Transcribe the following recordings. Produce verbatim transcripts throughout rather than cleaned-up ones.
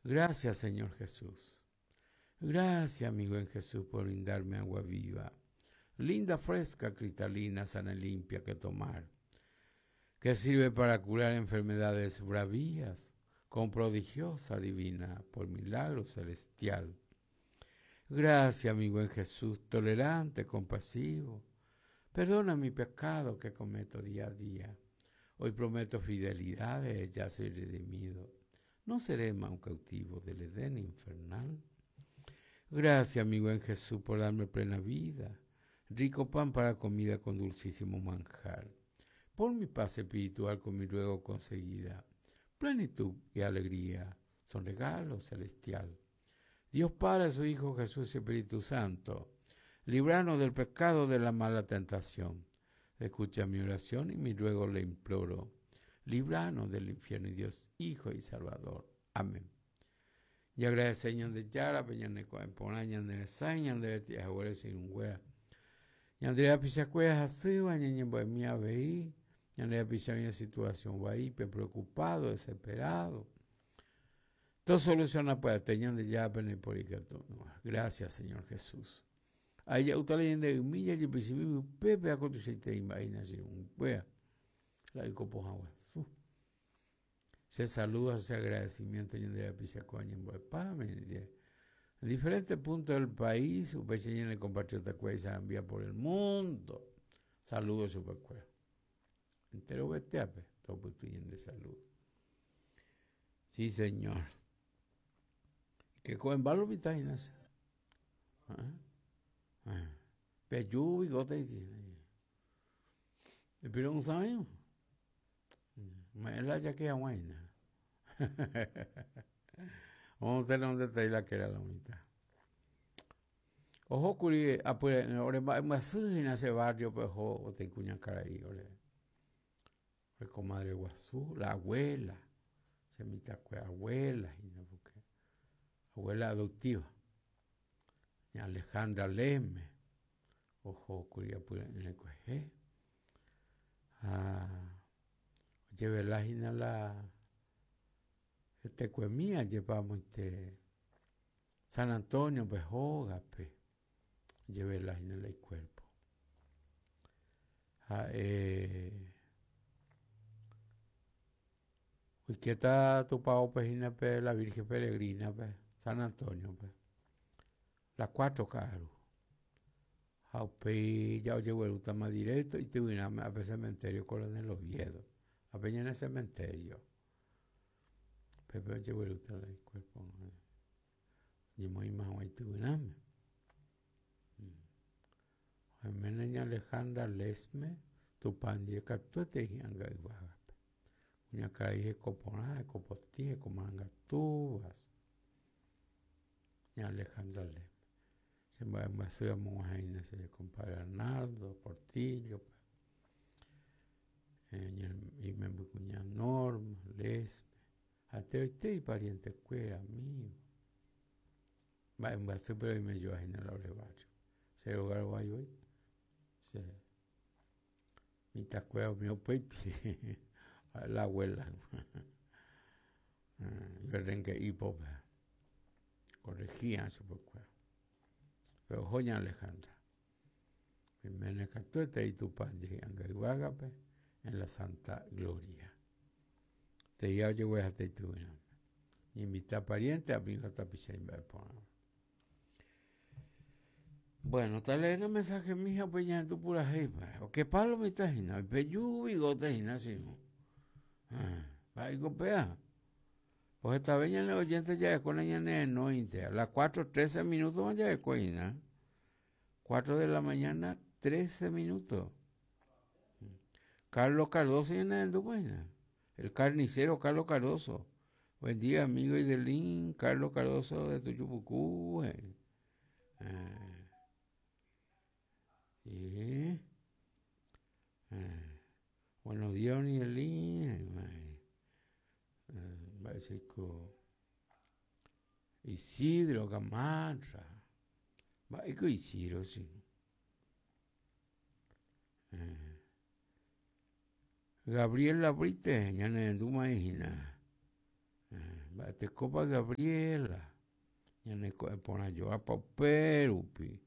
Gracias, Señor Jesús. Gracias, mi buen Jesús, por brindarme agua viva, linda, fresca, cristalina, sana y limpia que tomar, que sirve para curar enfermedades bravías, con prodigiosa divina, por milagro celestial. Gracias, mi buen Jesús, tolerante, compasivo. Perdona mi pecado que cometo día a día. Hoy prometo fidelidad, ya soy redimido. No seré más un cautivo del Edén infernal. Gracias, mi buen Jesús, por darme plena vida, rico pan para comida con dulcísimo manjar. Por mi paz espiritual con mi ruego conseguida, plenitud y alegría son regalo celestial. Dios Padre, su Hijo Jesús y Espíritu Santo, líbranos del pecado de la mala tentación. Escucha mi oración y mi ruego le imploro. Líbranos del infierno y Dios, Hijo y Salvador. Amén. Y agradece Ñandejára, peñaneko'ẽporã, ñaneresãi, ñandereti'ahaguére che irũnguéra. Ñande rapichakuéra hasýva, ñañembo'emi avei, ñande rapicha oĩ situación vaípe, preocupado, desesperado. Todo soluciona pya'ete Ñandejára peneporikatu. Gracias, Señor Jesús. Ahí ya usted leyendo humilla y principio pepe a tuichaite imba'e che irũnguéra. La ikopohã guasu. Se saluda, ese agradecimiento ñande rapichakuéra ñembo'epáme. En diferentes puntos del país, upéicha ñane compatriotakuéra isarambia por el mundo. Saludos chupekuéra. Entero veteape, topyty ñande salud. Sí, señor. Que cogen balo vitainas. Ah, ah. Peju bigote y pero un sabio. Me la ya que aguaina. Vamos a tener un detalle la que era la mitad. Ojo kuri apure ore mba'embyasy hína ese barrio pe oho oteĩ kuñakarai ore ore comadre guasu, la abuela, che mitãkuéra abuela hína porque abuela adoptiva, ña Alejandra Leme, ohókuri apyre'ỹre kuehe ha ojevela hína la hetekuemi ajépa amoite San Antonio-pe hógape ojevela hína la icuerpo ha'e oikéta tupãópe hína pe la Virgen Peregrina-pe San Antonio-pe las cuatro ka'aru ha upéi ja ojeguerútama directo ityvyrãme ápe cementerio Coronel Oviedo ápe ñane cementerio pépe ojeguerúta la icuerpo oñemoĩma hag̃ua ityvyrãme oiméne ña Alejandra Lesme Tupã ndive katuete hi'ãnga yvágape kuñakarai hekoporã, hekopotĩ, hekomarangatúva ña Alejandra Lesme che mba'embyasy amog̃uahẽhína che compadre Arnaldo Portillo-pe imembykuña Norma, Lesme ha enteroite iparientekuéra amigo mba'embyasýpe oimejoahína la ore barrio che róga rovái voi che mitãkuéra umi upéipi la abuela iberrenque'ípope corregía chupekuéra pero oho ña Alejandra oiméne katuete Tupã ndive hi'ãnga yvágape en la Santa Gloria teia ojegueraháta ityvyrãme ñainvita pariente, amigo ha tapicha imba'eporãva. Bueno, tal leer mensaje mija upéi ñahendu purahéipa oke palo mitã hína oipeju bigote hína che irũ mba'éiko péa pues hetave ñane oyente ja'ekóna ñanerenóinte a las cuatro trece minutos ja'ekue hína cuatro de la mañana trece minutos Carlos Cardoso ñanerendúma hína el carnicero Carlos Cardoso buen día amigo Idelín Carlos Cardoso de Tuyupucú eh. Eh. Eh. Buenos días, Idelín. Mba'éichaiko Isidro Gamarra mba'éiko Isidro che eh. Gabriela Brite ñanerendúma hína Te copa Gabriela. Ñane ko'ẽ porã joa upérupi.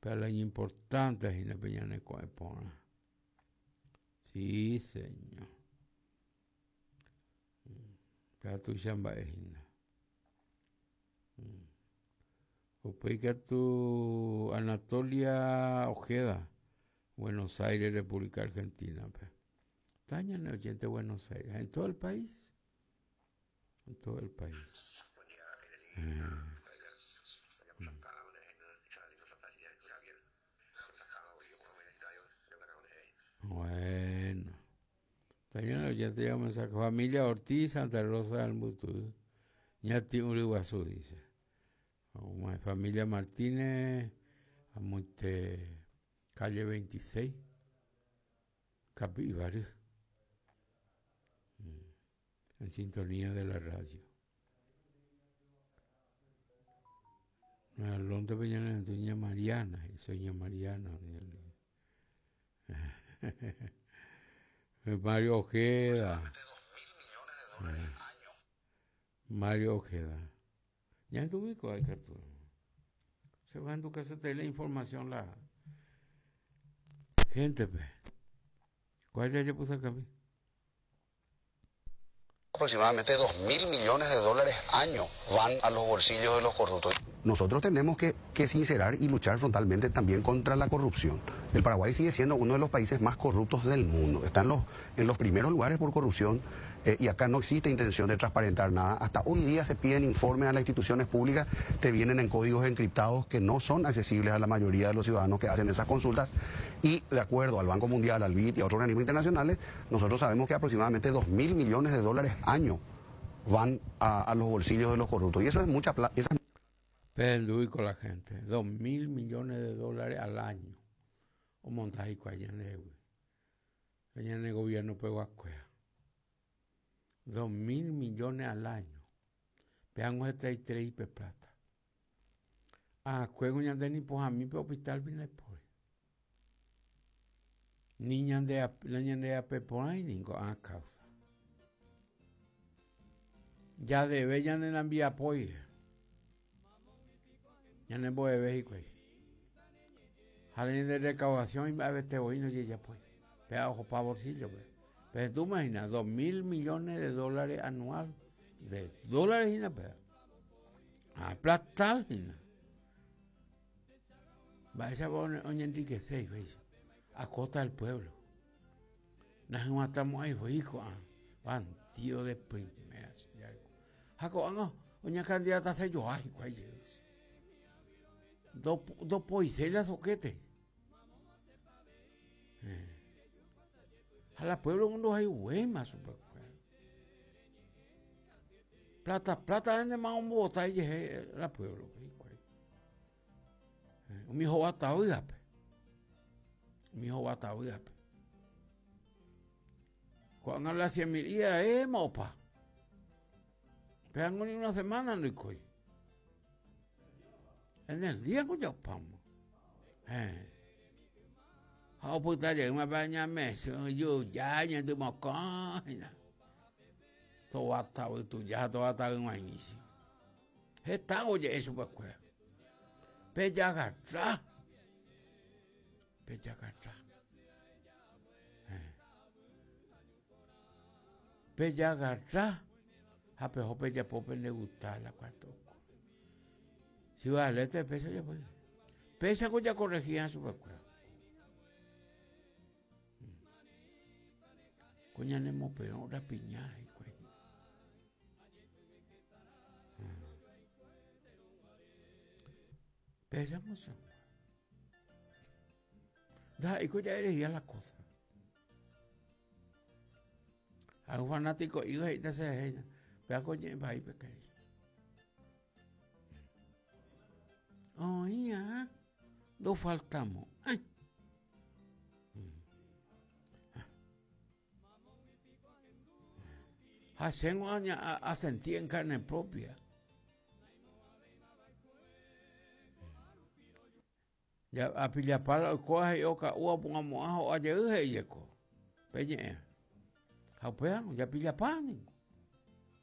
Pero lo importante es hína pe ñane ko'ẽ porã. Sí, señor. Péa tuicha mba'e hína. Upéi katu Anatolia Ojeda, Buenos Aires, República Argentina. Está ñane oyente Buenos Aires, en todo el país. En todo el país. Eh. Bueno. Está ñane oyente ya mensaje. Familia Ortiz, Santa Rosa del Mutú. Ñati Uriguazú, dice. Familia Martínez, Amuite, calle veintiséis, Capibarú, en sintonía de la radio. Alonso Peña, doña Mariana, y soy Mariana. Mario Ojeda. Mario Ojeda. Ya en tu ubico hay que tú. Se va en tu casa te la información la gente, pe. ¿Cuál ya yo puse acá? Aproximadamente dos mil millones de dólares año van a los bolsillos de los corruptos. Nosotros tenemos que, que sincerar y luchar frontalmente también contra la corrupción. El Paraguay sigue siendo uno de los países más corruptos del mundo. Están los, en los primeros lugares por corrupción, eh, y acá no existe intención de transparentar nada. Hasta hoy día se piden informes a las instituciones públicas, te vienen en códigos encriptados que no son accesibles a la mayoría de los ciudadanos que hacen esas consultas. Y de acuerdo al Banco Mundial, al B I D y a otros organismos internacionales, nosotros sabemos que aproximadamente dos mil millones de dólares año van a, a los bolsillos de los corruptos. Y eso es mucha plata. Pendui con la gente, dos mil millones de dólares al año. O montaje allá en el allá en el gobierno pegó a cueva. Dos mil millones al año. Vean este y tres y plata. Ah, cuego ñande ni pues a mí pe hospital vine por. Ni ñande a ñande a pe por ahí ni a causa. Ya debe ñande la envía poi. Ya no voy a ver, güey. Jalen de recaudación y a ver te voy no llega pues. Pega ojo pa bolsillo, pues. Pero tú imaginas, dos mil millones de dólares anual. De dólares y nada, pues. A plata, y nada. Va a ser un enriquecer, güey. A costa del pueblo. Nos matamos ahí, güey, hijo. Bandido de primera, señor. Jaco, no, una candidata se yo, ay, güey. Dos, dos poiselas soquete. Eh. A la pueblo uno hay huema super. Plata, plata vende más un bota y la pueblo. Eh. Un hijo bata oiga. Un hijo bata oiga. Cuando habla cien mil eh, mopa. Pegan ni una semana no hay. En el día que yo pamo. Eh. How puta llega una baña mes, yo ya ni de mocaina. Todo atado y tú ya todo atado en inicio. Está oye eso pues pues. Pella agarra. Pella agarra. Eh. Pella agarra. A pejo pella pope le gusta la cuarto. Si va a leer pesa ya pues. Pesa con ya corregía su pues. Coña nemo pero rapiñaje güey. Pesa mucho. Da y coña elegía la cosa. A un fanático iba y te se vea coña va y pequeño. Oh, ya, no faltamos. Ay. Hacemos a, a sentir en carne propia. Ya a pillapala coge oca ua pongamos ajo ayer yeko. Peñe. Jaupea, ya pillapani.